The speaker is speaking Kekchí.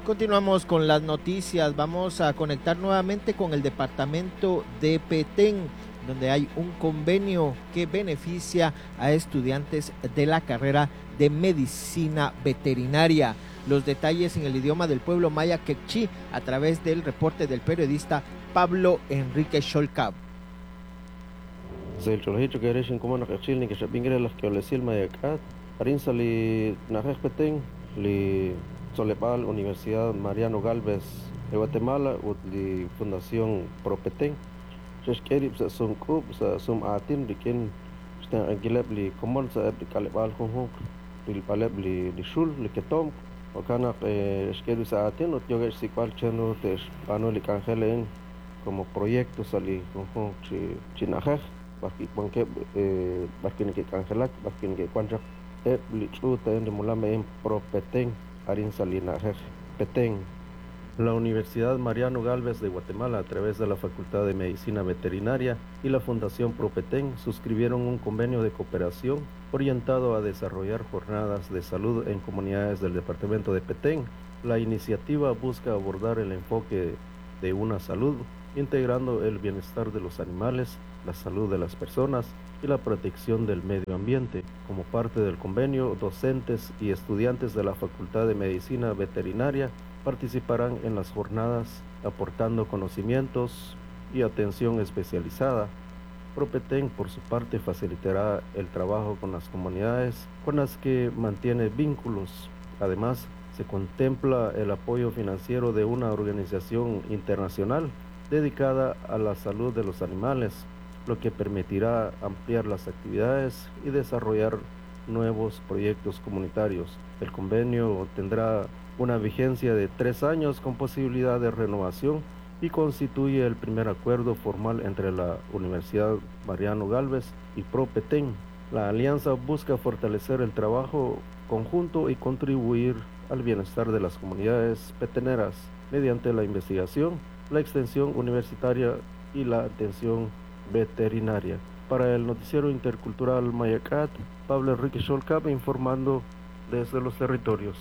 Continuamos con las noticias. Vamos a conectar nuevamente con el departamento de Petén, donde hay un convenio que beneficia a estudiantes de la carrera de medicina veterinaria. Los detalles en el idioma del pueblo maya quechí a través del reporte del periodista Pablo Enrique Xolcab. Tzoleb'al Universidad Mariano Gálvez de Guatemala ut li Fundación Propetén xe'xk'e rib' sa' sumk'uub' sa' sum'aatin rik'in xtenq'ankileb' li komon sa'eb' li k'aleb'aal junjunq rilb'aleb' li xul li ketomq jo'kan naq xk'e rib' sa' aatin ut yookeb' xsik'b'al chan ru te'xb'aanu li k'anjel a'in como proyecto sa' li junjunq chi na'ajej b'arwi' wankeb' b'arwi' neke'k'anjelak b'arwi' neke'wan chaq eb' li ch'uut a'in li molam a'in Propetén arin sa' li na'ajej Petén. La Universidad Mariano Gálvez de Guatemala, a través de la Facultad de Medicina Veterinaria y la Fundación Propetén, suscribieron un convenio de cooperación orientado a desarrollar jornadas de salud en comunidades del departamento de Petén. La iniciativa busca abordar el enfoque de una salud, integrando el bienestar de los animales, la salud de las personas y la protección del medio ambiente. Como parte del convenio, docentes y estudiantes de la Facultad de Medicina Veterinaria participarán en las jornadas aportando conocimientos y atención especializada. Propetén, por su parte, facilitará el trabajo con las comunidades con las que mantiene vínculos. Además, se contempla el apoyo financiero de una organización internacional dedicada a la salud de los animales, lo que permitirá ampliar las actividades y desarrollar nuevos proyectos comunitarios. El convenio tendrá una vigencia de 3 años con posibilidad de renovación y constituye el primer acuerdo formal entre la Universidad Mariano Gálvez y Propetén. La alianza busca fortalecer el trabajo conjunto y contribuir al bienestar de las comunidades peteneras mediante la investigación, la extensión universitaria y la atención veterinaria. Para el Noticiero Intercultural Mayacat, Pablo Enrique Xolcab informando desde los territorios.